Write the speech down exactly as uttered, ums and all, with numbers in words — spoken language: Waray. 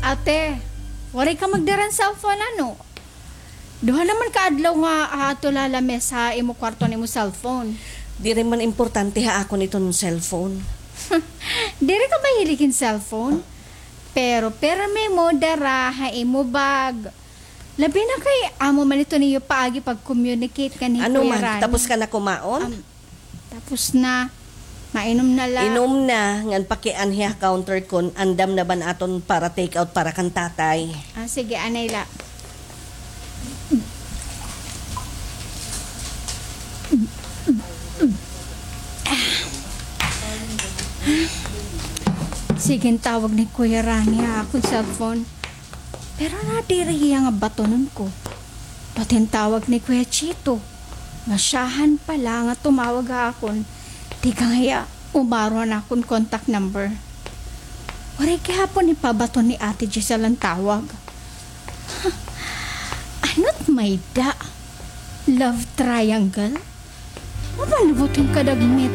Ate, waray ka magdara hin cellphone, ano? Duha naman ka adlaw nga aadto la ha lamesa ha imo kwarto an imo cellphone. Diri man importante ha akon iton cellphone. Diri ka mahilig hin cellphone? Pero pirme mo dara ha imo bag. Labi na kay amo man ito niyo paagi pag-communicate kan hi Kuya Rani. Ano man, tapos ka na kumaon? Um, Tapos na. Mainom na la. Inom na, ngan pakianhi ha counter kon andam na ba an aton para take out para kan tatay. Ah, sige, anay la. Sige, tawag ni Kuya Rani ha akon cellphone. Pero nadiri hiya nga batonon ko. Pati an tawag ni Kuya Chito. Masyahan pa la nga tumawag ha akon. Tikang hiya, umaro an akon contact number. Waray gihapon ipabaton ni Ate Giselle an tawag. Ano't may-ada? Love triangle? Mamalibot hin kadagmit.